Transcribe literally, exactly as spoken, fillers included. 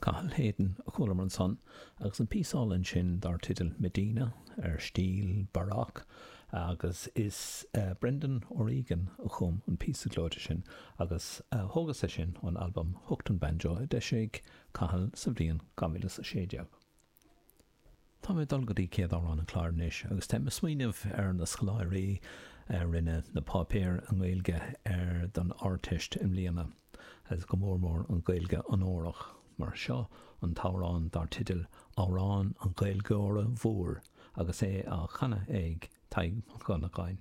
Cathal Hayden a chualamar ansan agus an píosa álainn sin dar teideal Medina ar stíl Baroque agus is uh, Brendan O'Regan a chum an píosa gleoite sin agus uh, thógas é sin ón albam Hooked on Banjo a d'eisigh Cathal sa bhliain dhá mhíle a sé déag. Tá mé dul go dtí céad amhrán an chláir anois agus tá mé ag smaoineamh ar na scoláirí a rinne na páipéir i nGaeilge ar don Ardteist i mbliana, agus go mór mór an Ghaeilge onórach mar seo an t-amhrán dar teideal Amhrán an Ghaeilgeora Mhóir agus é á chanadh ag Tadhg Mac Dhonnagáin.